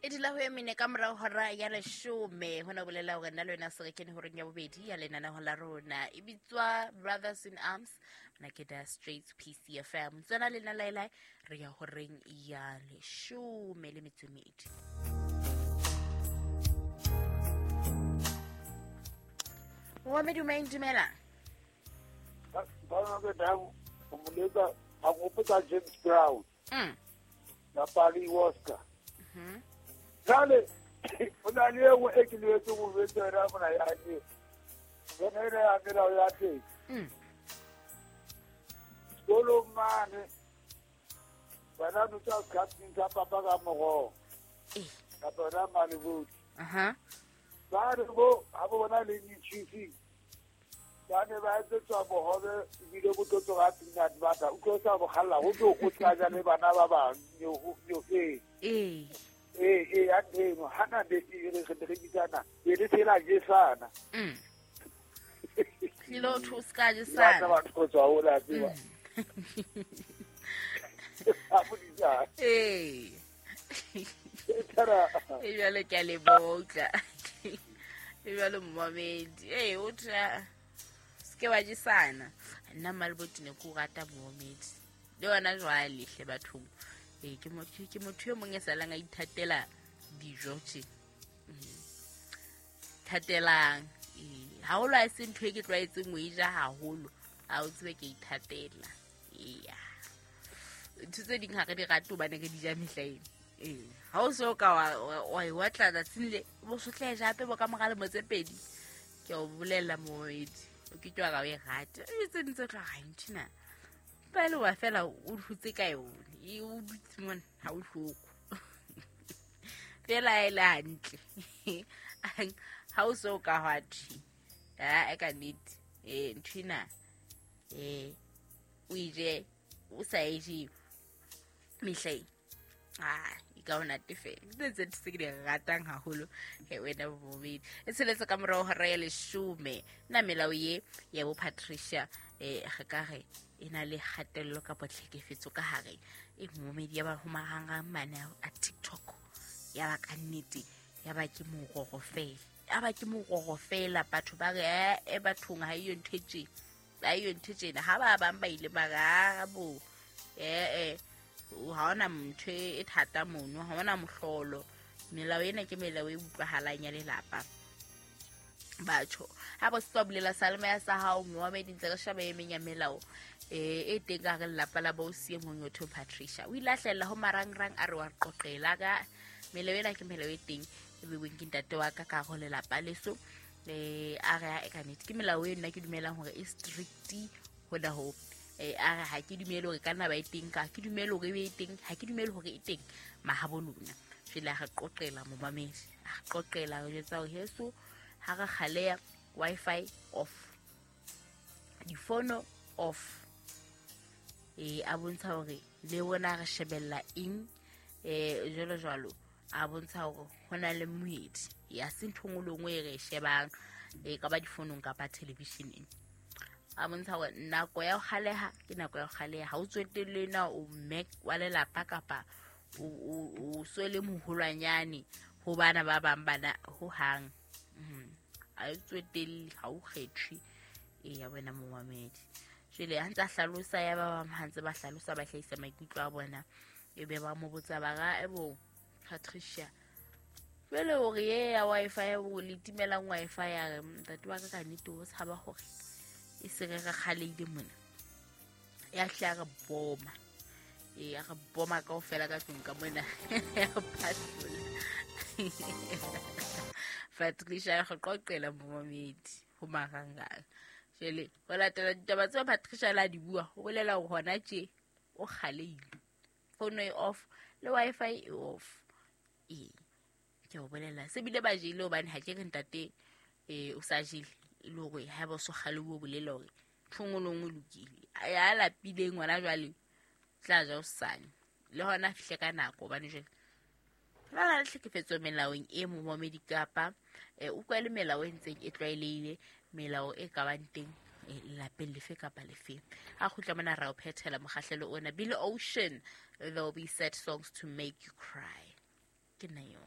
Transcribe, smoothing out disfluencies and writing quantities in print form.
E dula ho e mene ka morao hora ya leshome. Hona bolela hore nna le wena se re kene horeng ya bobedi ya lenaneo la rona. E bitswa Brothers in Arms. Mona ke da Straits PCFM. Tsena le nna laelae re ya horeng ya leshome le metso e medi. Momamedi o maeng dumela. Ba ke dang o moletsa a gopotsa James Brown. Na Pali Oscar. Jale o na le engwe e ke lebetse go betsa yona mona ya ke. Yona ena ya melao ya teng. Sekolong mane bana no tsa sekhathing sa papa ka morogo. Kapa yona malebodi. Ba re bo ha bo bona le di-cheese ba ne ba etsetswa bohobe ebile bo tlo tsoga peanut butter o tlo sa bogalla go tlo go tla ja le bana ba bang nyo ee ee ee ya teng hana be e re re bitsana e le tsela jesana tlilo tho ska jesana ba batho go tswa o la tseba a bodisa ee e jalo ke a lebotla e jalo momamedi ee o tla seke wa jesana nna mmaleboti ne ke o rata momamedi le yona jwale hle bathong ee ke motho e mong e salang a ithatela dijo tje thatelang ee haholo a se ntho e ke tlwaetseng o e ja haholo a o tsebe ke ithatela eya ntho tse ding ga re di rate hobane re di ja mehla eno ee ga o se o ka wa e watla tsatsing le bo sotla e jape bo ka mora lemo tse pedi ke o bolelela moedi o ke twa ka o e rate e tse ding tse tla ga nthina pele wa fela o hutse ka yone e o dutse mona ga o hloko fela e le hantle ga o se o ka hwa thi a e ka nnete ee nthwena ee o ije o sa e je mehleng a e ka o natefela ke tse tse ke di ratang haholo he wena bobedi e tsheletse ka morago hora ya leshome nna melao ye ya bo Patricia re ka re e na le kgatello kapa tlhekefetso ka hare e momedi ya ba ho marangrang mane a TikTok ya ba ka nnete ya ba ke mororo fela ya ba ke mororo fela batho ba re e bathong ha iyo ntho e tje ha iyo ntho tjena ha ba bang ba ile ba re a bo ha ona ntho e thata mono ha ona mohlolo melao ena ke melao e utlwahalang ya lelapa batho ha bo se bulela salema ya sa hao moamedi ntse re sheba e meng ya melao e teng ka re lelapa la bo sie mong yo Patricia o ile a hlahella ho marangrang a re wa qoqela ka melao ena ke melao e teng e beuweng ke ntate wa ka ka ho lelapa leso a re e ka nnete ke melao e nna ke dumelang hore e strict hona ho a re ha ke dumele hore ka nna ba e teng ka ke dumele hore e be e teng ha ke dumele hore e teng mahabo lona jwale a re qoqela momamedi a re qoqela re jwetsa hore heso ha re kgaleya Wi-Fi off difono off a bontsha hore le bona re shebella eng jwalo jwalo a bontsha hore ho na le moedi ya se ntho nngwe le nngwe e re e shebang e ka ba difonong kapa televisioneng a bontsha hore nako ya ho kgaleha ke nako ya ho kgaleha ha o tswetelle na o mme wa lelapa kapa o so le moholwanyane ho bana ba bang bana ho hang a e tswetelle ha o kgethwe e ya wena momamedi jwale ha ntse a hlalosa ya ba bang ha ntse ba hlalosa ba hlahisa maikutlo a bona e be ba mo botsa ba ra ebo Patricia jwale hore ye ya Wi-Fi o le timelang Wi-Fi ya re ntate wa ka ka nnete o tshaba hore e se re re kgaleile mona ya hle ya re boma e ya re boma kaofela ka tlung ka mona ya re phahlola Patricia ya go qoqela momamedi ho marangrang jwale ho latela ditaba tseo Patricia la di bua ho bolela hore hona tje o kgaleile phone e off le Wi-Fi e off ee ke o bolela se bile ba jele hobane ha ke re ntate o sa jele e le hore ha ba so kgale o bolela hore ntho nngwe le nngwe lokile ya lapileng ngwana jwale tla ja hosane le hona a fihle ka nako hobane jwale ba na le tlhekefetso melaong e momamedi kapa utlwa le melao e ntseng e tlwaelehile melao e ka bang teng lelapeng lefe kapa lefe ha kgutla mona ra o phethela mokgahlelo ona Billy Ocean, there will be sad songs to make you cry ke nna yo.